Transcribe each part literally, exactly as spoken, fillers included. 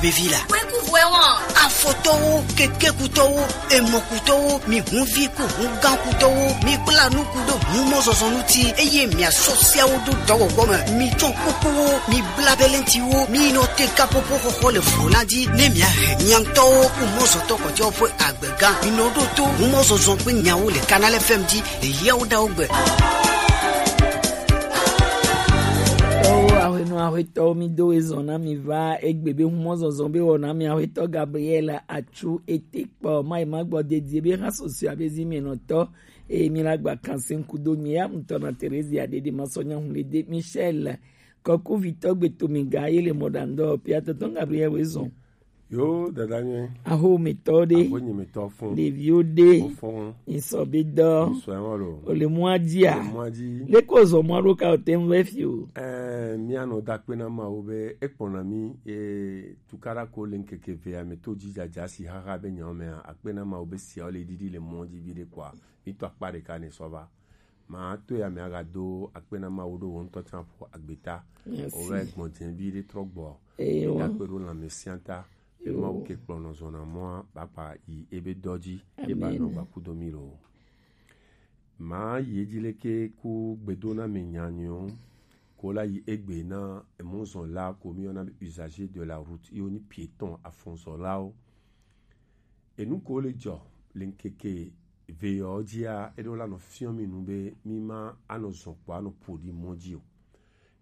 Bevi la. Wekuvuɛ wɔn. Afɔtɔwo, kekekutɔwo, emɔkutɔwo, mi hunvi ku hungankutɔwo, mi kpla nuku ɖo humɔzɔzɔ ŋuti, eye miasɔ siawo do dɔwɔwɔ me. Mi tsɔ kukuwo, mi bla belentiwo, mi nɔ te kapopo xɔxɔ le vlo la dzi, ne mia hɛ miantɔwo ku mɔzɔtɔ kɔtɔ ƒe agbega. Mi nɔ ɖo to humɔzɔzɔ ƒe nyawo le Canal F M dzi le yawo ɖawo gbe. Tɔwo, aƒenɔ, aƒetɔwo, mi do ezɔ na mi va egbe be humɔzɔzɔ be wɔna mi aƒetɔ Gabriel atsu ete kpɔ mai ma gbɔ dedie be ha sosua be zi mi nɔtɔ. Eye mi la gba kanse ŋku do mi ya ŋutɔ na Terezia dede ma sɔ nya hu le de Michel kɔkuvitɔ gbe to mi ga ye le mɔɖaŋdɔ pia tɔtɔ Gabriel we zɔn. Yo, dada nyuie. Ahometɔ ɖe. Ahonyemetɔ fún. Ɖeviwo ɖe. Fún. Nsɔ be dɔ. Nsɔ ɛwɔn lo. Ole mɔa dzia. Ole mɔa dzi. Leko zɔ mɔa ɖo ka o te ŋu fi o. Ɛɛ, mía nɔ da kpe na Mawu be ekpɔna mí, e, tukaɖa ko le ŋkeke evea me to dzidzadza si xaxa be nyawo mea, akpe na Mawu be siawo le ɖiɖi le mɔ dzi viɖe kpɔa, mí to akpa ɖeka ne sɔ va. Ma to ya me aga do akpe na Mawu ɖo wo ŋutɔ tsã ƒo agbeta. Merci. Wo vɛ gbɔn dze vi ɖe trɔ gbɔ. Eye wa. Da kpe ɖo lãme sia ta. Yo. Mawu ke kplɔ nɔ zɔna mɔa, ba kpa yi ebe dɔ dzi, ye ba nɔ. Amen. Gba kudo mi lo. Ma yi edzi leke ku gbedo na me nyanyo. Ko la yi egbe na emɔzɔn la ko mi yɔna be usager de la route, yo ni piéton afɔnzɔlawo. Enu ko le dzɔ le ŋkeke ve yɔ dzia, eɖo la nɔ fiɔ mi nu be mi ma anɔ zɔn kpɔ anɔ ƒo ɖi mɔ dzi o.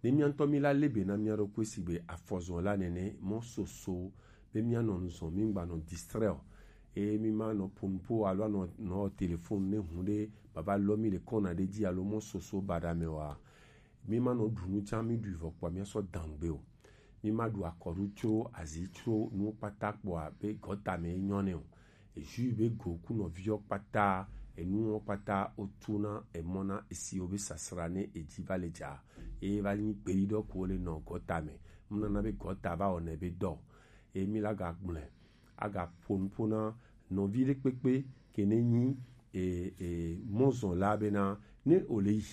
Ne mía ŋutɔ mi la le be na mía ɖokui sigbe afɔzɔn la nene mɔ soso be mía nɔ nu zɔn mi ŋgba nɔ distraire o. Eye mi ma nɔ ƒo nuƒo alo anɔ nɔ telefon ne hu ɖe baba lɔ mi le kɔna ɖe dzi alo mɔ soso baɖa me oa, mi ma nɔ ɖu nu tsã mi ɖui vɔ kpɔ mía sɔ dangbe o. Mi ma ɖu akɔɖu tso azi tso nuwo kpata kpɔa be gɔta me nyɔ ne o. Eju be go ku nɔviwo kpata, enuwo kpata wotu na emɔ na esiwo be sasra ne edzi va le dza. Eye va nyi gbeɖiɖɔ ko le nɔ gɔta me. Mnana be gɔta va wɔnɛ be dɔ. Eye mi la ga gblɔe. Aga ƒo nuƒo na nɔvi ɖe kpekpe ke ne nyi, e, e, mɔzɔn la bena ne o le yi,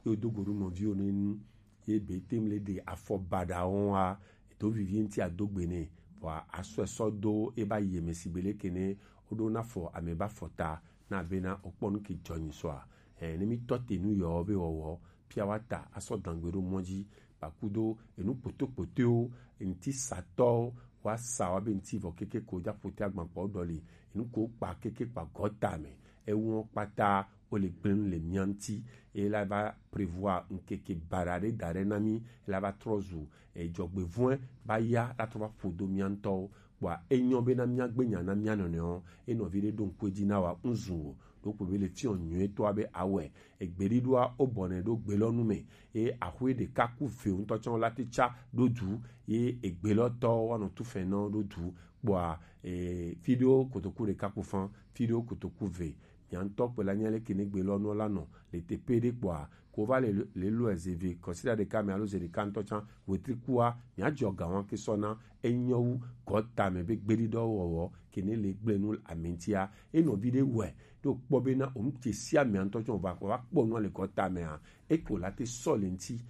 ye o do go ɖo nɔviwo ne nu, ye be tem le ɖe afɔ baɖawo wa, do vivi ŋuti ado gbe nɛ, vɔa asɔe sɔ do e ba yi eme si be leke ne o ɖo na fɔ ame ba fɔ ta na bena o kpɔ nu ke dzɔ nyi sɔa. Ɛ, ne mi tɔ te nu yɔ be wɔwɔ, pia wa ta asɔ dangbe ɖo mɔ dzi, ba kudo enu kpotokpotoewo, ŋuti satɔwo, wa sa wa be ŋuti vɔ keke ko dza ƒote agbankpawo ɖɔli, enu ko kpa keke kpa gɔta me, ewo kpata wo le gblẽ nu le mía ŋuti, eye la va prévoir ŋkeke baɖa ɖe da ɖe na mí, ela va trɔ zu, e, dzɔgbevɔ̃e va ya la trɔ va ƒo do mía ŋutɔwo. Kpɔa enyɔ bena míagbe nya na mía nɔnɔewo, e nɔvi ɖe ɖo ŋku edzi na wa ŋzu o, ɖo kpo be le fiɔ nyuietɔa be awɔe. Egbeɖiɖoa wobɔnɛ ɖo gbe lɔ nu me, ye axwe ɖeka ku ve ŋutɔ tsɔ la te tsa ɖo du, ye egbe lɔ tɔ woanɔ tu fɛn nɔ ɖo du. Kpɔa, e, fi ɖewo kotoku ɖeka ku fan, fi ɖewo kotoku ve. Mia ŋutɔ kpe la nya leke ne gbe lɔ nɔ la nɔ le teƒe ɖe kpɔa, ko va le, le lɔ eze ve kɔsiɖa ɖeka me alo ze ɖeka ŋutɔ tsã wetri kua, mia dzɔ ga wa ke sɔ na enyɔ wu gɔta me be gbeɖiɖɔ wɔwɔ ke ne le gblẽ nu ame ŋutia. Enɔ vi ɖe wɔe ɖo kpɔ be na o ŋuti sia mea ŋutɔ tsɔ va kpɔ va kpɔ nua le gɔta mea, eko la te sɔ le ŋuti.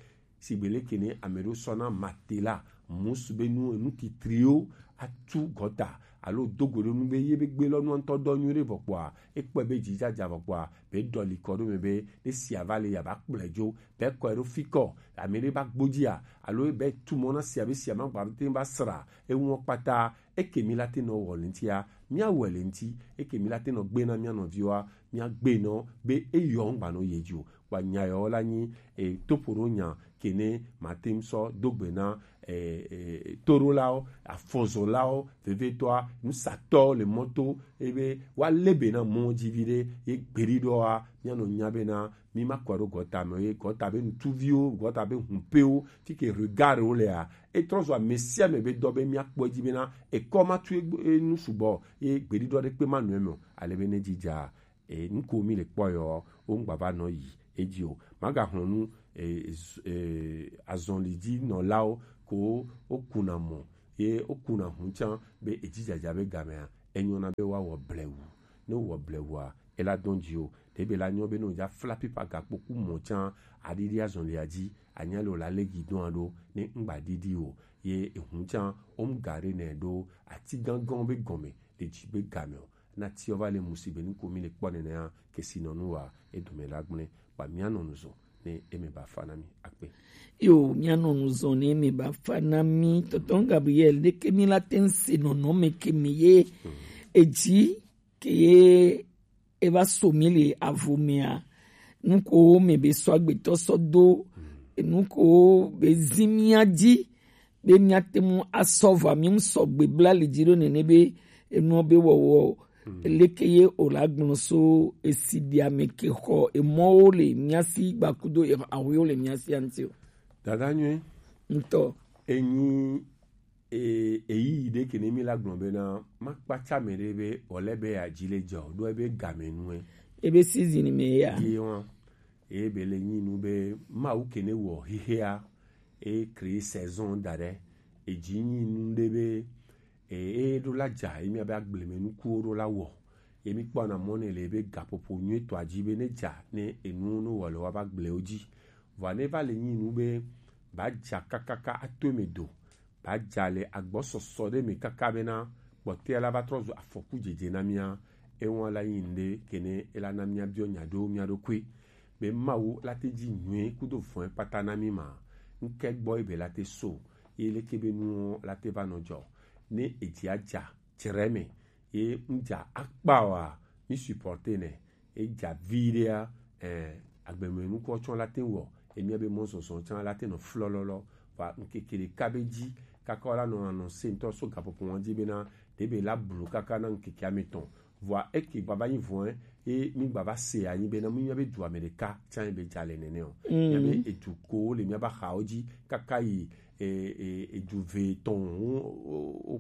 Sigbe leke ne ame ɖewo sɔ na matela, musu be nu, nu titriwo atu gɔta alo do go ɖe nu be ye be gbe lɔ nua ŋutɔ dɔ nyuie ɖe vɔ kpɔa, ekpɔe be dzidzadza vɔ kpɔa, be ɖɔli kɔ ɖo me be ne sia va le ya va kplɔe dzo, be kɔe ɖo fi kɔ, ame ɖe va gbodzia, alo be tu mɔ na sia be sia ma gba te va sra, eŋua kpata, eke mi la te nɔ wɔ le ŋutia, mia wɔe le ŋuti, eke mi la te nɔ gbe na mia nɔviwoa, mia gbe nɔ be eyɔ ŋgba nɔ ye dzi o. Kpa nya yɔ la nyi, e, toƒoɖo nya kene mate ŋu sɔ do gbe na, e, e, toɖolawo, afɔzɔlawo, vevietɔa, nusatɔwo le mɔto, ebe woalé be na mɔ dzi viɖe, ye gbeɖiɖɔa, míanɔ nya bena, mi ma kɔ ɖo gɔta me o, ye gɔta be ŋutsuviwo, gɔta be hupewo, fi ke regard wo lea, etrɔ zɔ ame sia ame be dɔ be míakpɔ edzi bena, ekɔ ma tu egbe-, enu sugbɔ, ye gbeɖiɖɔ ɖekpe ma nɔ eme o, ale be ne dzidza, e, nuko mi le kpɔ yɔ, wo ŋgba va nɔ yi edzi o. Magaxlɔ̃ nu, e, z-, e, azɔli dzi nɔlawo ko wokuna mɔ, ye wokuna hu tsã be edzidzadza be gamea, enyɔna be woawɔ blewu. Ne wowɔ blewua, e la dɔn ji o. Ɖe be la nyɔ be no ja fla pipa gakpo ku mɔ can aɖiɖi azɔn le aji, anya le o la le gi dɔn aɖo ne ŋgba ɖiɖi o. Ye ehun can o mu ga ɖe nɛ ɖo ati gangan be gɔme le ji be game o. Na ti ɔ va le musi be nu ko mi le kpɔ nɛnɛ a, ke si nɔ nu wa e dome la gblẽ, ba mia nɔ nu zɔn ne e me ba fa na mi akpe. Yo, mia nɔ nu zɔn ne e me ba fa na mi. Tɔtɔ Gabriel, ɖe ke mi la te se nɔnɔme ke mi ye. Eji ke ye e va so mi le avo mea, nu ko me be sɔ agbetɔ sɔ do, nu ko be zi mia ji, be mia te mu asɔ va mi mu sɔgbe bla le ji ɖo nene be enuɔ be wɔwɔ leke ye o la gblɔ so esi ɖi ame ke xɔ emɔwo le mia si gbakudo ahuiwo le mia si anti o. Dada nyuie. Ŋutɔ. Enyi e eyi ɖe ke ne mi la gblɔ be na ma kpatsa me ɖe be wòle be ya dzi le dzɔ ɖo ebe game nue. Ebe season me ya. Ye wa. Ebe le nyi nu be Mawu ke ne wɔ hihea e crée saison da ɖe. Edzi nyi nu ɖe be e e ɖo la dza ye mia be agbleme nukuwo ɖo la wɔ. Ye mi kpɔ na mɔ ne le be gaƒoƒo nyuie tɔa dzi be ne dza ne enu no wɔ le wa ba gblewo dzi. Vɔa ne va le nyi nu be ba dza kakaka ato me do. Ba dza le agbɔsɔsɔ ɖe me kaka bena kpɔtɔea la va trɔ zu afɔku dzedze na mía. Ewa la nyi ŋɖe kene ela na mía biɔ nya ɖo mía ɖokui be Mawu la te dzi nyuie kudo vɔ̃e kpata na mí ma. Ŋke gbɔ ebe la te so ye leke be nuwo la te va nɔ dzɔ ne edzia dza tsrɛ me ye ŋdza akpa oa, mi supporter nɛ. Edza viɖea, eh, agbeme nukɔ tsɔ la te wɔ emia be mɔ zɔzɔ tsã la te nɔ flɔlɔlɔ. Va ŋkeke ɖeka be dzi kaka la nɔ anɔ se ŋutɔ so gaƒoƒo wɔn dzi bena ɖebe la blu kaka na ŋkeke ametɔn. Vɔa eke gbava nyi vɔe ye mi gbava se anyi bena mi mia be du ame ɖeka tsã be dza le nene o. Mia be edu ko le mia ba xawo dzi kaka yi e, e, edu ve tɔn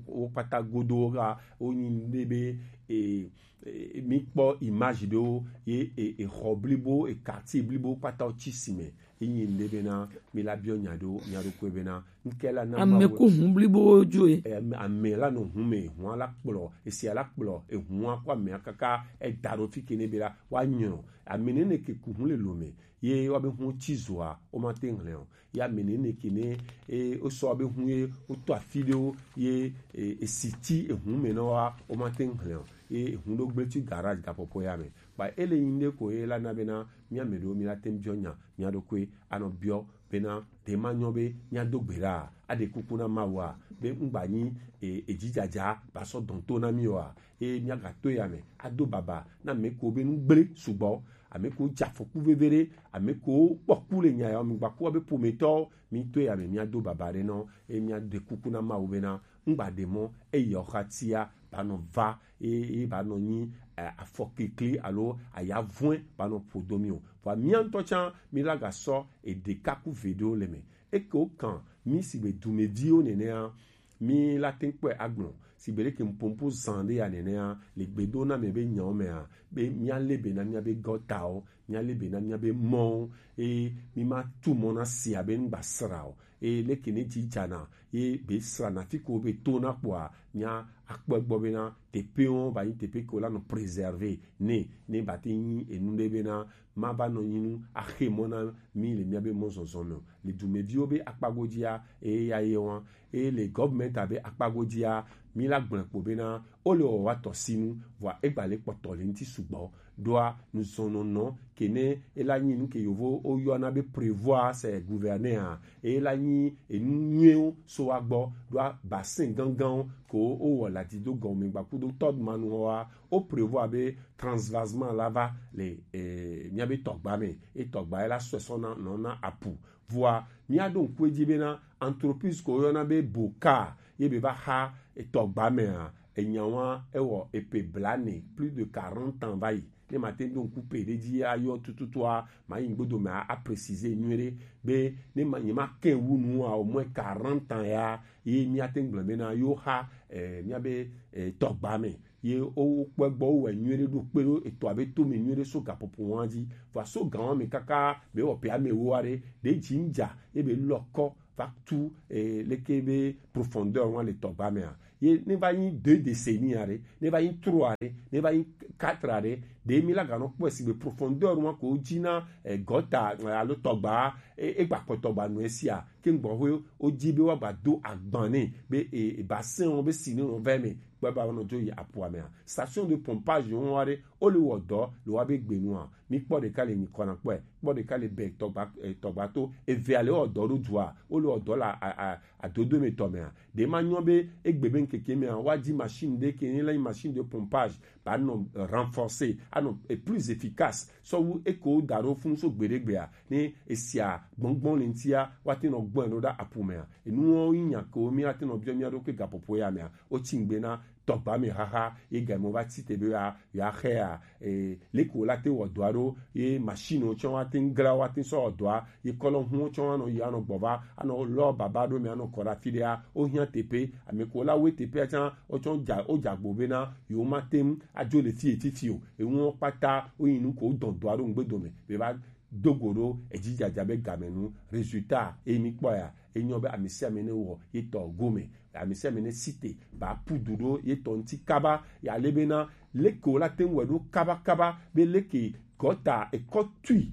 wo kpata godo ga wo nyi ɖe be e, e, mi kpɔ image ɖewo ye e, exɔ blibo e quartier blibo kpata wo tsi si me. Ye nyi ŋɖe bena mi la biɔ nya ɖo mia ɖokui bena ŋke la na ame Mawu ko hun blibo dzo ye. E, ame, ame la nɔ hun me, hun la kplɔ esia la kplɔ ehun ko amea kaka eda ɖo fi ke ne be la wa nyɔ ame nene ke ku hun le lo me ye wa be hun tsi zoa wo ma te ŋlɛ o. Ya ame nene ke ne e wo sɔ be hun ye wo to afi ɖewo ye e, e si tsi ehun me nɔ wa wo ma te ŋlɛ o. Ye ehun ɖo gble tsi garage gaƒoƒo ya me. Ba ele nyi ŋɖe ko ye la na bena mía me ɖewo mi la te biɔ nya mía ɖokui anɔ biɔ bena ɖe ma nyɔ be mía do gbe ɖa aɖe kuku na Mawu a be ŋgba nyi e, edzidzaja ba sɔ dɔn to na mí oa. Eye mía ga to ya me ado baba na ame ko be nu gble sugbɔ, ame ko dza afɔku veve ɖe, ame ko kpɔ ku le nya ya mi gba ku be ƒometɔ mi to ya me mía do baba ɖe nɔ eye mía ɖe kuku na Mawu bena ŋgba ɖe mɔ eyi ɔxa tia ba nɔ va eye ba nɔ nyi afɔkekle alo ayavɔe ba nɔ ƒo do mi o. Vɔa mía ŋutɔ tsã mi la ga sɔ eɖe kaku ve ɖewo le me. Eke wo kan mi si be dumeviwo nenea mi la te kpɔe agblɔ si be ɖeke mpompo zan ɖe ya nenea le gbedo na me be nyawo mea be mía le be na mía be gɔtawo, mía le be na mía be mɔwo eye mi ma tu mɔ na sia be ŋgba sra o. Eye leke ne dzi dzana ye be srana fi ko be to na kpɔa mía akpɔ egbɔ bena teƒewo va nyi teƒe ke wo la nɔ préserver ne ne ba te nyi enu ɖe bena ma va nɔ nyi nu axe mɔ na mi le mía be mɔ zɔzɔ me o. Le dumeviwo be akpa godzia eye ya ye wa eye le gɔvmɛnta be akpa godzia mi la gblẽ kpo bena wo le wɔ wa tɔ sinu vɔa egba le kpɔtɔ le ŋuti sugbɔ. Ɖoa nuzɔnɔnɔ ke ne ela nyi nu ke yovo woyɔna be prévoir c'est gouverner a ela nyi enu nyuiwo so wa gbɔ ɖoa bassin ganganwo ko wowɔ le ati do gɔme gbakudo tɔdmanu wa wo prévoir be transvasement la va le eh, mía be tɔgba me e tɔgba ela sɔe sɔ na nɔ na apu vɔa mía ɖo ŋku edzi bena entreprise ko woyɔna be boka ye be va xa etɔgba mea enya wa ewɔ epe blane plus de quarante ans va yi ne ma te ɖo ŋku pe ɖe dzi ayɔ tututua ma yi ŋgbodo me a préciser nyuie ɖe be ne ma nye ma ke wu nu a au moins quarante ans ya ye mía te gblɔ bena yo xa eh, mía be eh, tɔgba me ye wo kpɔ egbɔ wo wɔ nyuie ɖe ɖo kpe ɖo etɔa be to me nyuie ɖe so gaƒoƒo wa dzi va so gan wa me kaka be wɔ pe ame wo wa ɖe ɖe dzi ŋdza ye be lɔkɔ va tu eh, leke be profondeur wa le tɔgba mea Ye ne va nyi deux décennies aɖe, ne va nyi trois aɖe, ne va nyi quatre aɖe, ɖe mi la ganɔ kpɔe si be profondeur wa ko dzi na eh, gɔta eh, alo tɔgba e- egba kpɔ tɔgba nu esia ke ŋgbɔ hoe o dzi be wa gba do agban ne be e e bassin wo be si ne nɔ vɛ me kpɛ ba nɔ dzo yi aƒua mea. Station de pompage wo wa ɖe o le wɔ dɔ le wa be gbe nua. Mi kpɔ ɖeka le nyi kɔna kpɔe, kpɔ ɖeka le bɛ tɔgba eh, tɔgba to, evea le wɔ dɔ ɖo dua, o le wɔ dɔ la a- a- adodo me tɔ mea. Ɖe ma nyɔ be egbe be ŋkeke mea wa di machine ɖe ke ne la nyi machine de pompage ba nɔ renforcer anɔ eh, plus efficace sɔwu eko da ɖo funu so gbeɖegbea ne esia gbɔngbɔn le ŋtia wa te nɔ gbɔn ɖo ɖa apu mea. Enuwo yi nya ko mi wa te nɔ biɔ mi aɖo ke gapopo ya mea o tsi ŋgbe na tɔgba me haha ye ga mo va tsi te be ya ya xe ya eh, leke wo la te wɔ dɔa ɖo ye machine wo tsɔ wa te ŋgla wa te sɔ wɔ dɔa ye kɔlɔ hu wo tsɔ wa nɔ yi anɔ gbɔ va anɔ lɔ baba ɖo mi anɔ kɔ ɖe afi ɖea wo hiã teƒe ame ko la wo teƒea tsã wo tsɔ dza wo dza gbo be na yewo ma te ŋu adzo le fi etifi o eŋu wo kpata wo yi nu ko wo dɔn dɔa ɖo ŋgbe dome be va do go ɖo edzidzaja be game nu résultat eye mi kpɔ ya enyɔ be ame sia ame ne wɔ ye tɔ gome ame sia ame ne site ba pu du ɖo ye tɔ ŋuti kaba ya le bena leke wo la te ŋu wɔ ɖo kabakaba be leke gɔta ekɔ tui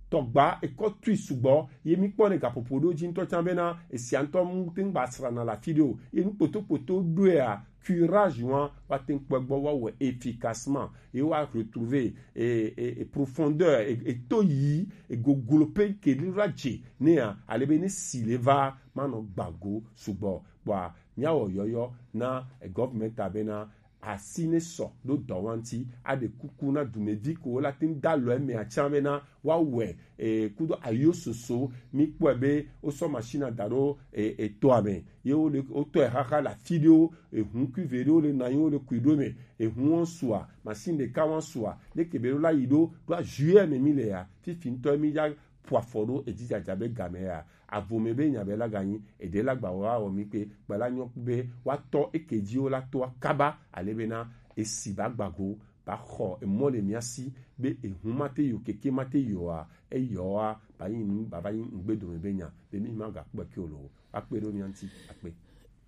tɔgba ekɔ tui sugbɔ ye mi kpɔ ne gaƒoƒo ɖo dzi ŋutɔ tsã bena esia ŋutɔ mu te ŋu gba srana le afi ɖe o ye nu kpotokpoto ɖoea curage wa wa te ŋu kpɔ gbɔ wa wɔ efficacement ye wa retrouver e, e, e profondeur e, e to yi e goglo pe ke ɖi la dze nea ale be ne si le va manɔ gbago sugbɔ kpɔa míawɔ yɔyɔ na government bena asi ne sɔ ɖo dɔ wa ŋuti aɖe kuku na dumevi ko la te ŋu da lɔ emea tsã bena woawɔe e, kudo ayo soso mi kpɔe be wosɔ machine da ɖo e, etoa me ye wo le wotɔe xaxa le afi ɖewo ehu kuive ɖewo le nanyi wo le kui ɖo me ehu wo sua machine ɖeka wo sua leke be ɖo la yi ɖo ɖo ajuillet me mi le ya fifi ŋutɔ mi ya ƒo afɔ ɖo edzidzaja be game ya avome be nya be la ganyi eɖe la gba wa wɔ mi kpe gba la nyɔ be wa tɔ eke dzi wo la toa kaba ale bena esi ba gbago ba xɔ emɔ le mia si be ehu ma te yo keke ma te yoa eyɔa ba yi nu ba va yi ŋgbe dome be nya be mi ma ga kpɔ ke o lo akpe ɖo mia ŋuti akpe.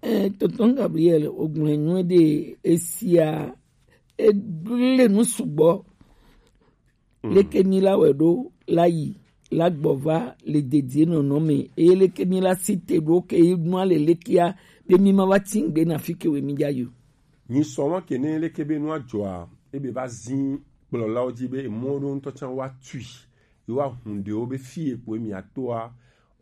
Eh, tonton Gabriel, o gblɔe nyuie ɖe esia, egblẽ nu sugbɔ. Leke mi la wɛ ɖo la yi la gbɔ va le dedie nɔnɔ me eye leke mi la si te ɖo ke yi nua le lekea be mi ma va ti ŋgbe na fi ke we mi dza yi o. Nyi sɔ ma ke ne leke be nua dzɔa ebe va zi kplɔlawo dzi be emɔ ɖo ŋutɔ tsã wa tui yi wa hun ɖewo be fi ekpo emi atoa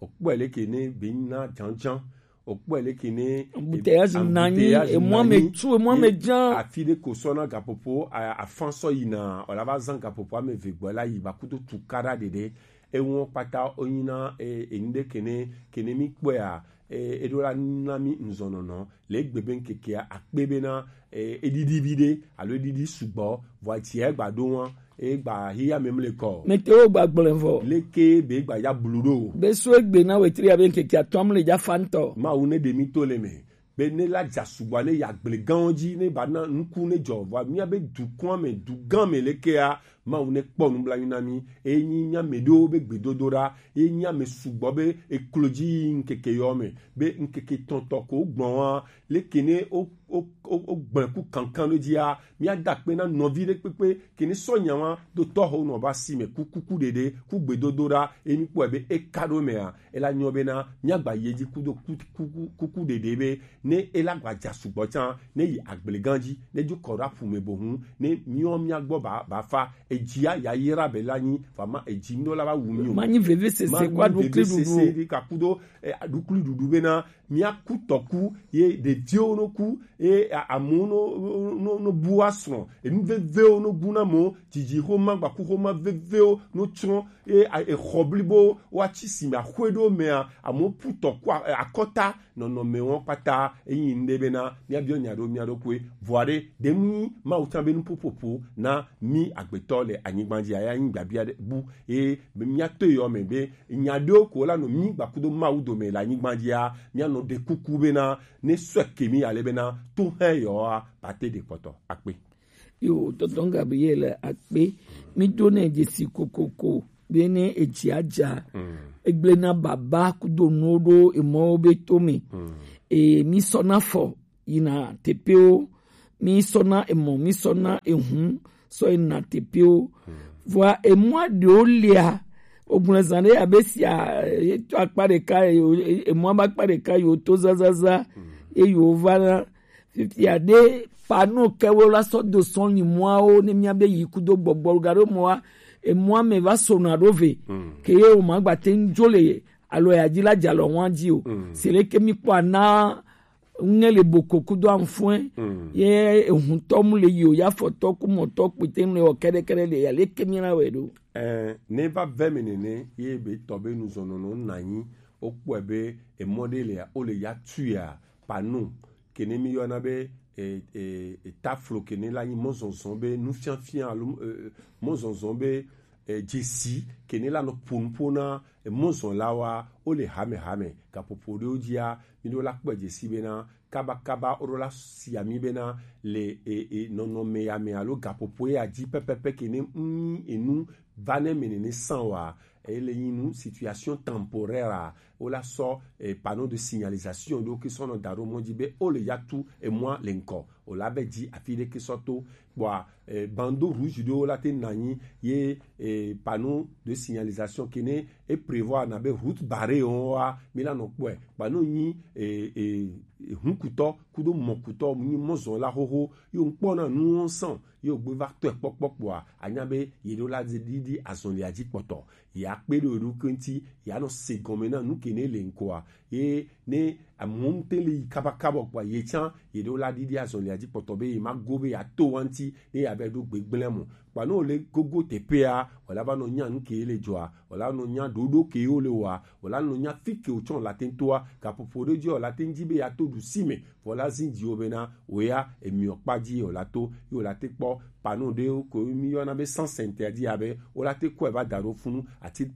okpɔe leke ne be na dzandza okpɔe leke ne embouteillage nanyi emɔ me tu emɔ me dza afi ɖe ko sɔ na gaƒoƒo afan sɔ yina wala va zan gaƒoƒo ame eve gbɔ la yi ba kudo tu kaɖa ɖeɖe eŋɔ kpata wonyi na enu ɖe kene kene mi kpɔea eɖo la na mi nuzɔnɔnɔ le egbe be ŋkekea akpe bena eɖiɖi vi ɖe alo eɖiɖi sugbɔ vɔ ati egba ɖo wa egba hi ya mem le kɔ. Mete wo gba gblẽ vɔ. Leke be gba ya blu ɖo. Be so egbe na wetri ya be ŋkeke atɔm le dza fa ŋutɔ. Mawu ne ɖe mi to le me. Be ne la dza sugbɔ ne ya gble gãwo dzi ne ba na ŋku ne dzɔ vɔ mia be dukɔa me du gã me lekea Mawu ne kpɔ nublanui na mi eye nyi mia me ɖewo be gbedodoɖa eye nyi ame sugbɔ be eklo dzi yi ŋkeke yɔ me be ŋkeke tɔntɔ ko gblɔ wa leke ne o o o o gblẽ ku kankan ɖe dzia míada akpe na nɔvi ɖe kpekpe ke ne sɔ nya wa do tɔxo nɔ ba si me ku kuku ɖeɖe ku gbedodoɖa eye mi kpɔe be eka ɖo mea ela nyɔ bena míagba yi edzi kudo kuku kuku ɖeɖe be ne ela gba dza sugbɔ tsã ne yi agblegan dzi ne dzo kɔ ɖo aƒu me bohun ne míɔ mía gbɔ ba ba fa edzia yayra be la nyi vama edzi mi la va wu mi o manyi veve sese kwa ɖo kli ɖuɖu ɖe ka kudo aɖukli ɖuɖu bena míaku tɔku ye ɖeviwo no ku ye amewo no no no bu asrɔ̃ enu vevewo no bu na amewo dzidzi xoma gbaku xoma vevewo no tsrɔ̃ ye exɔ blibo woatsi si me axɔe ɖewo mea amewo pu tɔku akɔta nɔnɔme wɔn kpata eyi ŋɖe bena míabiɔ nya ɖo mía ɖokui vɔa ɖe ɖe mu nyi mawu tsã be nuƒoƒoƒo na mí agbetɔ le anyigba dzi aya nyi gbabia bu ye míato yɔ me be nya ɖewo ko la nɔ mí gbakudo mawu dome le anyigba dzia míanɔ ɖe kuku bena ne sɔe ke mí ale bena to hɛ yɔa pate ɖe kpɔtɔ akpe. Yo tɔntɔn Gabriel akpe mi do ne dzesi kokoko be ne edzi adza egble na baba kudo nuwo ɖo emɔwo be to me e mi sɔ na fɔ yina teƒewo, mi sɔna emɔ, mi sɔna ehun sɔ yina teƒewo. Vɔa emɔa ɖewo lia, ogblẽ zã ɖe abe sia, eh, to akpa ɖeka, eh, emɔa be akpa ɖeka yewo to zazaza, ye yewo va na fifia ɖe pano kewo la sɔ do sɔn yi mɔawo ne mía be yi kudo gbɔgbɔ ga ɖo mɔa, emɔa me va sona ɖo ve, ke ye o ma gba te ŋdzo le alo ya dzi la dza lɔ ŋua dzi o. Se leke mi kpɔ ana ŋe le boko kudo amfɔe, ye ehuntɔ mu le yi o, ya fɔtɔ ku mɔtɔ kpete ŋu le wɔ kɛɖɛkɛɖɛ le ya leke mi la wɛ ɖo. Eh, ne va vɛ me nene ye be tɔ be nuzɔnɔnɔ na nyi, o kpɔe be emɔ ɖe le ya, o le ya tu ya pano, kene mi yɔna be, e, e, e, taflo kene la nyi mɔzɔzɔ be nufiafia alo, e, mɔzɔzɔ be, e, dzesi kene la nɔ ƒonuƒo na, e, mɔzɔlawoa, wo le hamehame gaƒoƒo ɖewo dzia, mi ɖo la kpɔe dzesi bena kabakaba wo ɖo la sia mi bena le, e, e, nɔnɔme ya me alo gaƒoƒo ya dzi pɛpɛpɛ kene ŋu enu va ne me nene san wa, ele nyi nu situation temporaire a, wo la sɔ, eh, panneau de signalisation ɖo ke sɔ nɔ da ɖo mɔ dzi be wo le ya tu emɔa le ŋkɔ, o la be dzi afi ɖe ke sɔ to. Kpɔa, eh, bandeau rouge ɖewo la te na nyi ye, eh, panneau de signalisation ke ne e prévoir na be route barrée wɔn wa mi la nɔ kpɔe. Kpa no nyi, eh, eh, hunkutɔ kudo mɔkutɔ nyi mɔzɔn la xoxo yo ŋkpɔ na nu wɔn sɔn yo gbe va tɔe kpɔkpɔ kpɔa, anya be ye ɖo la ɖiɖi azɔlia dzi kpɔtɔ. Ya kpe ɖe wo ɖokui ŋuti, ya nɔ se gɔme na nu ke ne le ŋkɔa. Ye ne amewo ŋute le yi kabakaba kpɔa, ye tsã ye ɖo la ɖiɖi azɔlia dzi kpɔtɔ be ye ma go be ya to wa ŋuti ne ya be ɖo gbegblẽ mo. Kpa ne wo le gogo teƒea, wòla va nɔ nya nu ke le dzɔa, wòla nɔ nya ɖoɖo ke wo le wɔa, wòla nɔ nya fi ke wo tsɔ la te ŋtoa, gaƒoƒo ɖe dzi wòla te ŋdzi be ya to ɖusi me, vɔ la zin dziwo bena wò ya emiɔ kpa dzi wòla to, ye wòla te kpɔ pano ɖewo ko mi yɔna be sans interdit abe wola te kɔe va da ɖo funu ati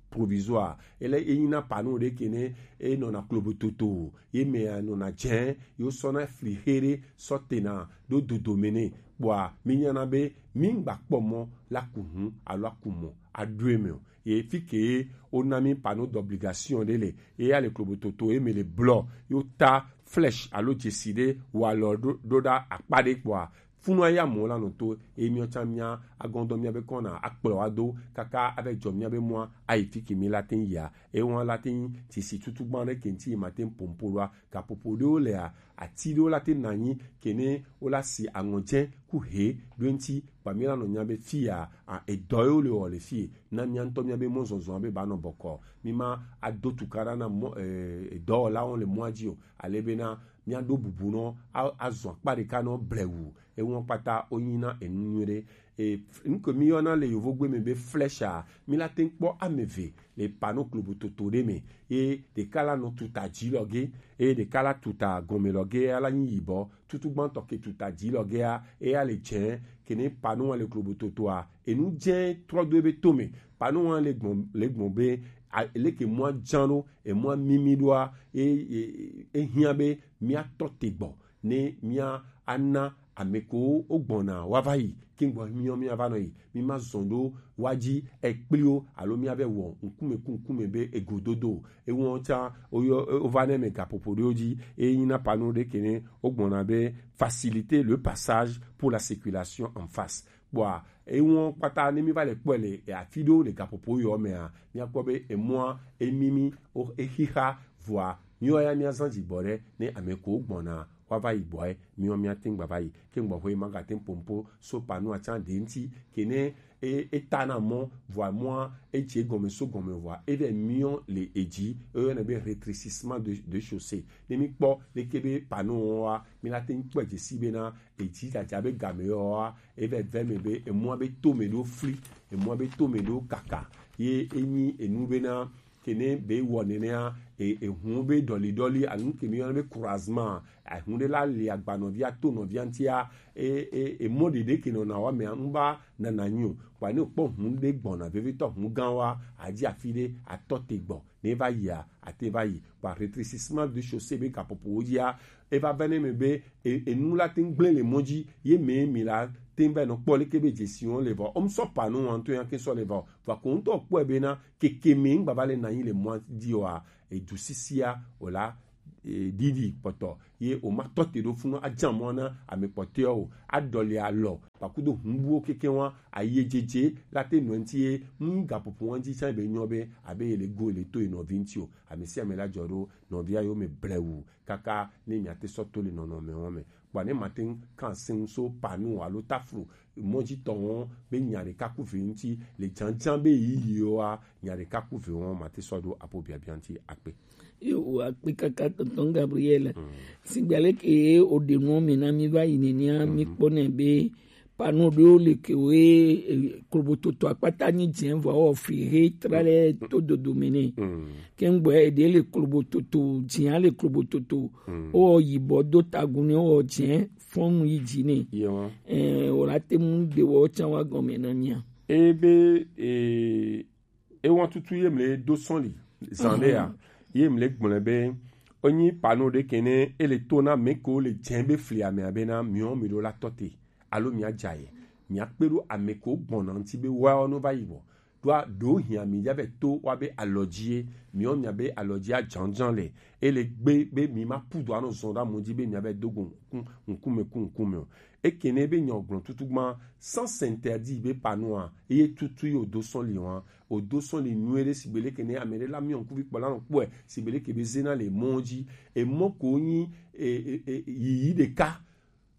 provisoire. Ele enyina pano ɖe ke ne enɔna klobototo, ye mea nɔna dzẽ, ye wosɔna fli xe ɖe sɔ tena ɖo dodome nɛ. Kpɔa mi nyana be mi ŋgba kpɔ mɔ la ku hu alo aku mɔ aɖoe me o. Ye fi ke ye wona mi panneau d'obligation ɖe le, ye ya le klobototo ye me le blɔ, ye wota flèche alo dzesi ɖe walɔ ɖo ɖo ɖa akpa ɖe kpɔa, funua ya mɔ la nɔ to, ye miɔ tsã mia agɔndɔ mia be kɔna akplɔ wa do kaka ave dzɔ mia be mɔa ayi fi ke mi la te yia. Ye wɔn la te dzesi tutu gban ɖe ke ŋuti ma te pompo ɖoa, gaƒoƒo ɖewo lea, ati ɖewo la te na nyi ke ne wo la si aŋɔ dzẽ ku he ɖo ŋuti, kpa mi la nɔ nya be fi ya, a, edɔ yewo le wɔ le fi na mia ŋutɔ mia be mɔzɔzɔ be ba nɔ bɔkɔ. Mi ma ado tukaɖa na mɔ, e, edɔwɔlawo le mɔa dzi o. Ale bena mia ɖo bubu nɔ a, azɔ akpa ɖeka nɔ blewu. Eŋɔ kpata wo nyi na enu nyui ɖe. E, nuke mi yɔna le yovogbe me be flèche a, mi la te kpɔ ame eve le panneau klobototo ɖe me. Ye ɖeka la nɔ tuta dzi lɔ ge, eye ɖeka la tuta gɔme lɔ ge, ala nyi yibɔ. Tutu gbãtɔ ke tuta dzi lɔ gea, eya le dzẽ, ke ne panneau wa le klobototoa, enu dzẽ trɔ do ebe tome. Panneau wa le gbɔn, le gbɔn be, a, leke mɔa dzã ɖo, emɔa mimi ɖoa, e, e, e hiã be mia tɔ te gbɔ, ne mia ana ame ko wo gbɔna wa va yi, ke gbɔ miɔ mia va nɔ yi, mi ma zɔn ɖo wa dzi ekpliwo, alo mia be wɔ ŋkume ku ŋkume be egododo. Ewɔn tsã, woyɔ, wova ne me gaƒoƒo ɖewo dzi, eye nyina panneau ɖe ke ne wogbɔna be faciliter le passage pour la circulation en face. Kpɔa, ewɔn kpata ne mi va le kpɔe le afi ɖewo le gaƒoƒo yɔ mea, miakpɔ be emɔa, emimi, o, exixa, vɔa, miɔ ya miazã dzigbɔ ɖe ne ame ko wogbɔna wa va yi gbɔe, miɔ mia te ŋgba va yi. Ke ŋgbɔ ƒe magate ŋ pompo so panneau atsã ɖe ŋuti, ke ne e, e ta na mɔ, vɔa mɔa, e dze gɔme so gɔme vɔa, e vɛ miɔ le edzi, e yɔnɛ be rétrécissement de, de chaussée. Ne mi kpɔ leke be panneau wa, mi la te ŋ kpɔe dzesi bena edzi dzadza be game yɔ wa, e vɛ vɛ me be emɔa be tome ɖo fli, emɔa be tome ɖo kaka, ye enyi enu bena ke ne be wɔ nenea, e, ehun be ɖɔli ɖɔli, anu ke mi yɔna be croisement, ahun ɖe la li agba nɔvia to nɔvia ŋutia, e, e, e mɔ ɖeɖe ke nɔna wa mea, ŋu va nana nyi o. Kpa ne kpɔ hun ɖe gbɔna vevitɔ, hun gã wa, adzi afi ɖe, atɔ te gbɔ, ne va yia, ate va yi. Kpa rétrécissement de chaussée be gaƒoƒowo dzia, e va vɛ ne me be, e, enu la te ŋ gblẽ le mɔ dzi, ye me mi la te ŋ va nɔ kpɔ leke be dzesi wɔn le va. Wo ŋ sɔ panneau wa ŋutɔ ya ke sɔ le va o. Va ko ŋutɔ kpɔe bena, keke me ŋgba va le na anyi le mɔa dzi oa, edu sisia o la, ɖiɖi kpɔtɔ ye o ma tɔ te ɖo funu ajan mɔ na ame kpɔtɔewo o. Aɖɔli alɔ kpakudo hunbuwo keke wa ayejeje la te nɔ ŋuti ye nu gaƒoƒo wa ŋuti tsã be nyɔ be abe ye le go le to ye nɔvi ŋuti o. Ame sia ame la jɔ ɖo nɔvia yo me blewu kaka ne mia te sɔ to le nɔnɔme wa me. Kpɔ ne ma te ŋu kan sin so panu alo taflu mɔdzitɔwo be nya ɖeka ku ve ŋuti le dzadza be yiyi wa nya ɖeka ku ve wo ma te sɔ ɖo apo biabia ŋuti akpe. Yo, akpe kaka tonton Gabriel. Sigba leke o de nuwo me na mi va yi nenea mi kpɔ nɛ be panu ɖewo le ke wo ye klobototo akpata nyi dze vɔ wɔ fli he tra le to dodo me nɛ. Ke ŋgbɔ eɖe le klobototo dzia le klobototo wɔ yibɔ do tagun ne wɔ dze fɔnu yi dzi nɛ. Ɛɛ o la te mu de wɔ tsã wa gɔme na mia. Ebe ee ewa tutu ye mle do sɔn li zan ɖe ya ye mle gblɔe be enyi pano ɖe kene ele to na me ko le dze be fli ame abe na miɔ mi ɖo la tɔ te alo mia dza ye mia kpe ɖo ame ko gbɔna ŋuti be wa no va yi bɔ ɖoa ɖo hiã mi ya be to wa be alɔdzi ye miɔ mia be alɔdzi adzɔndzɔn le ele gbe be mi ma pu do anɔ zɔn ɖa mo dzi be mia be do go ŋku ŋkume ku ŋkume o ekene be nyɔ gblɔ tutu gba sans interdit be panoa eye tutu yi o do sɔn li wa o do sɔn li nyuie ɖe sigbe leke ne ame ɖe la miɔ ŋkuvi kpɔ la nɔ kpɔe sigbe leke be zena le mɔ dzi emɔ ko nyi e, e, e, yiyi ɖeka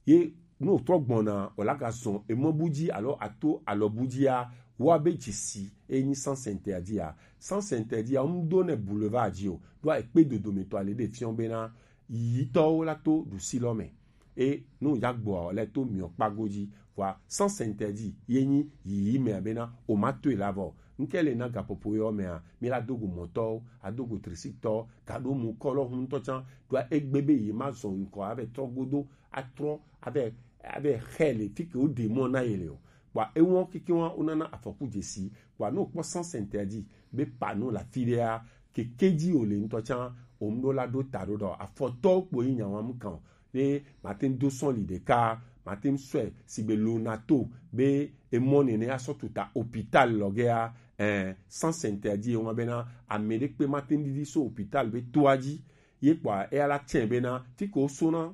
ye ne wòtrɔ gbɔna wòla gazɔ emɔ bu dzi alo ato alɔ bu dzia wa be dzesi enyi sans interdit a sans interdit a ŋdo ne boulevard dzi o ɖo ekpe dodometɔ ale ɖe fiɔ bena yiyitɔwo la to ɖusi lɔ me e nu ya gbɔa le to miɔ kpago dzi vɔa sans interdit ye nyi yiyi mea bena o ma toe la vɔ ŋke le na gaƒoƒo yɔ mea mi la dogo mɔtɔwo adogo trisitɔ gaɖo mu kɔlɔ huntɔ tsã ɖoa egbe be yi ma zɔ ŋkɔ ave trɔ godo atrɔ ave ave xɛ le fi ke wo ɖe mɔ na ye le o kpɔa ewɔ keke wa wo nana afɔku dzesi kpɔa ne wokpɔ sans interdit be pano le afi ɖea keke dzi wòle ŋutɔ tsã wòm ɖo la ɖo ta ɖo ɖɔ afɔtɔwo kpo yi nya wam kan o ne mate ŋu do sɔli ɖeka mate ŋu sɔe sigbe lonato be emɔ nene asɔ tuta hôpital lɔgea eh, sans interdit ewa bena ame ɖe kpe mate ŋu ɖiɖi so hôpital be toa dzi ye kpɔa eya la tsɛ bena fi ke wosona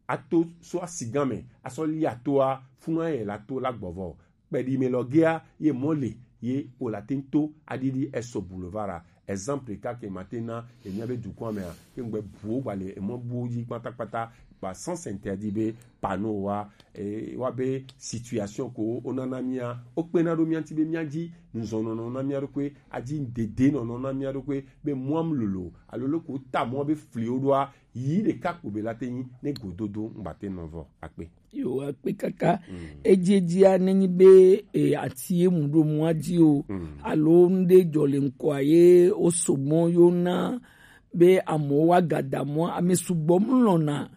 ato so asigã me asɔ lia toa funu aye la to la gbɔvɔ kpeɖi me lɔ gea ye mɔ le ye o la te ŋu to aɖiɖi eso boulevard a exemple ɖeka ke ma te na emia be dukɔa mea ke ŋgbe buwo gba le emɔ buwo dzi kpatakpata gba sans interdit be pano wa e, wa be situation ko wonana mia wokpena ɖo mia ŋuti be mia dzi nuzɔnɔnɔ na mia ɖokui adzi dede nɔnɔ na mia ɖokui be mɔam lolo alo loko ta mɔ be fliwo ɖoa yi ɖeka kpo be la te nyi ne gododo ŋgba te nɔ vɔ akpe. Yo akpe kaka. Edziedzia nenyi be e, ati emu ɖo mɔa dzi o alo ŋɖe dzɔ le ŋkɔa ye woso mɔ yo na be amewo wa gada mɔ ame sugbɔ mlɔna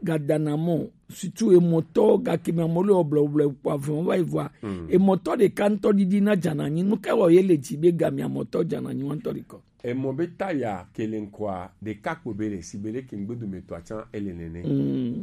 gada na mɔ situ emɔtɔ gake me amewo le ɔblɔblɔ kpɔ avɔ va yi vɔa emɔtɔ ɖeka ŋutɔ ɖiɖi na dzana nyi nu ka wɔ ye le dzi be game amɔtɔ dzana nyi wa ŋutɔ ɖikɔ. Emɔ be taya kele ŋkɔa ɖeka kpo be le si be leke ŋgbedometɔa tsã ele nene.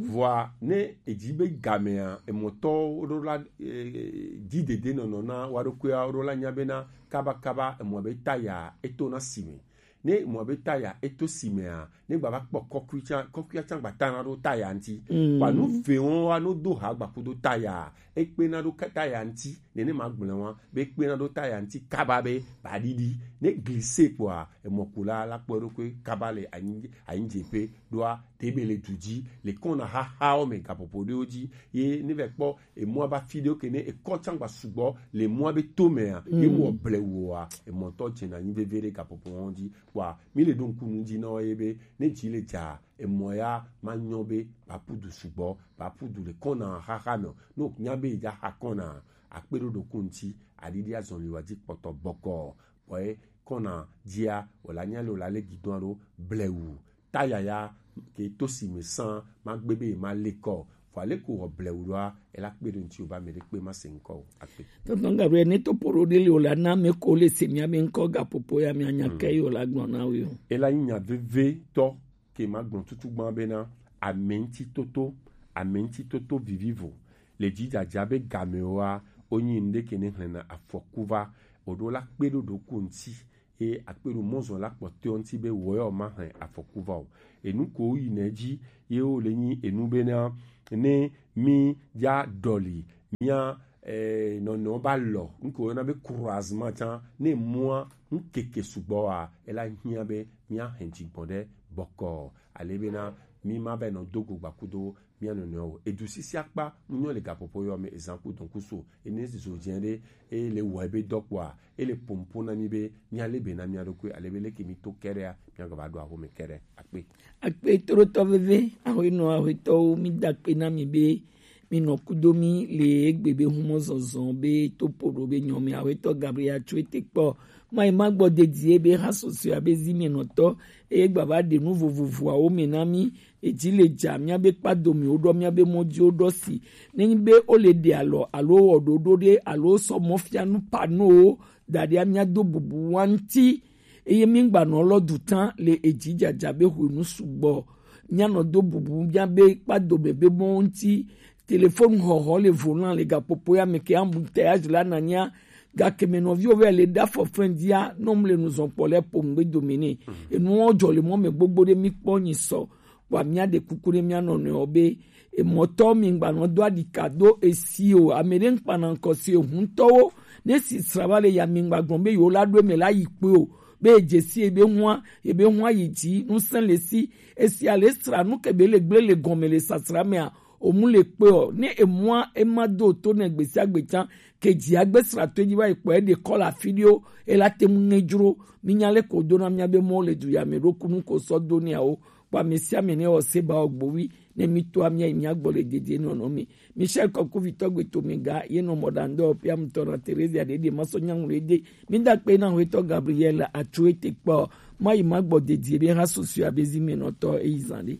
Vɔa ne edzi be gamea emɔtɔwo ɖo la e, dzi dede nɔnɔ na wa ɖokuia ɖo la nya bena kabakaba emɔ be taya eto na si me ne emɔ be taya eto si mea ne gbava kpɔ kɔkui tsã kɔkuia tsã gba tana ɖo taya ŋuti kpa nu vewo wa no do ha gba kudo taya ekpena ɖo taya ŋuti nene ma gblẽ wa be ekpena ɖo taya ŋuti kaba be ba ɖiɖi ne glise kpɔa emɔkula la kpɔ eɖokui kaba le anyi anyidzeƒe ɖoa ɖe be le du dzi le kɔna xaxawo me gaƒoƒo ɖewo dzi ye ne va kpɔ emɔa ba fi ɖewo ke ne ekɔ tsã gba sugbɔ le mɔa be to mea ye wɔ ble woa emɔtɔ dzena anyi veve ɖe gaƒoƒo wɔn dzi kpɔa mi le ɖo ŋku nu dzi na wo ye be ne dzi le dza emɔ ya ma nyɔ be ba ƒu du sugbɔ ba ƒu du le kɔna xaxa me o ne o nya be yi dza xa kɔna akpe ɖo ɖoku ŋuti aɖiɖi azɔli wa dzi kpɔtɔ bɔkɔ bɔye kɔna dzia wòle anya le wòle ale gidɔn aɖo blewu ta yaya ke to si me san ma gbe be ma le kɔ vɔ ale ko wɔ blewu ɖoa ela kpe ɖo ŋuti o ba me ɖe kpe ma se ŋkɔ o akpe. Tɔntɔn Gabriel ne to poro ɖe le wòle ana me ko le se mia be ŋkɔ gaƒoƒo ya mia nya ke yi wòle agblɔ na wo. Ela nyi nya veve tɔ ke ma gblɔ tutu gbã bena ame ŋuti toto ame ŋuti toto vivivo le dzidzadza be gamewoa wonyi nu ɖe ke ne hlẽna afɔku va o ɖo la kpe ɖo ɖoku ŋuti Ye akpe ɖo mɔzɔn la kpɔtɔe ŋuti be wɔ yɔ ma hɛn afɔku va o. Enu ko yi nɛ dzi ye wo le nyi enu be na ne mi ya dɔli mia eh, nɔnɔ ba lɔ nuko yɔna be croisement can ne mua nkeke sugbɔ wa ela hiã be mia hɛn dzigbɔn ɖe bɔkɔ ale be na mi ma be nɔ do go gbakudo mia nɔnɔ o. Edu sisi akpa mu nyɔ le gapopo yɔ me ezan ku dɔn kuso ene zo jɛ ɖe e le wɔ ebe dɔ kpɔa e le pompo na mi be mia le be na mia ɖokui ale be leke mi to kɛɖɛa mia gɔ va ɖo aho me kɛɖɛ akpe. Akpe trotɔ veve ahoenɔ ahoetɔwo mi da akpe na mi be mi nɔ kudo mi le egbe be humɔ zɔzɔ be to po ɖo be nyɔ mi ahoetɔ Gabriel tso ete kpɔ ma yi ma gbɔ dedie be ha sɔsɔe abe zi mi nɔtɔ eye gbava ɖe nu vovovoawo me na mi. Edzi le dza mia be kpado mi wo ɖɔ mia be mɔ dzi wo ɖɔ si ne nyi be wo le ɖe alɔ alo wɔ ɖoɖo ɖe alo sɔ mɔ fia nu panowo da ɖe mia do bubu wa ŋuti eye mi gba nɔ lɔ du tã le edzi dzadza be hwenu sugbɔ mia nɔ do bubu mia be kpado me be mɔ ŋuti. Telefonu hɔhɔ le volan le gapopo ya me ke embouteillage la nanya gake me nɔviwo vɛ le da fɔ fɛn dia nɔ mu le nuzɔn kpɔ le po ŋgbe dome ne enuwo dzɔ le mɔ me gbogbo ɖe mi kpɔ nyi sɔ kpɔ mia ɖe kuku ɖe mia nɔnɔewo be emɔtɔ mi ŋgba nɔ do aɖika do esi o ame ɖe ŋkpana ŋkɔ si ehuntɔwo ne si sra va le ya mi ŋgba gblɔ be yewo la ɖo eme la yi kpe o be edze si ebe hua ebe hua yi dzi ŋusẽ le si esi ale sra nu ke be le gble le gɔme le sasra mea omu le kpe o ne emua ema do to ne gbesiagbe tsã ke dzi agbe sra to edzi va yi kpɔ eɖe kɔ le afi ɖewo ela te ŋu ŋe dzro mi nya le ko do na mia be mɔ le du ya me ɖo kunu ko sɔ do ne awo kpɔ ame sia ame ne wɔ se ba wɔ gbovi ne mi to amia yi mia gbɔ le dede nɔnɔ mi. Michel kɔkuvitɔ gbeto mi ga ye nɔ mɔ ɖa ŋdɔ pia mutɔ na Teresa ɖe ɖe ma sɔ nyaŋu ɖe ɖe mi da kpe na hwetɔ Gabriel atsu ete kpɔ ma yi ma gbɔ dedie be ha susu abe zi mi nɔtɔ eyi zan ɖe.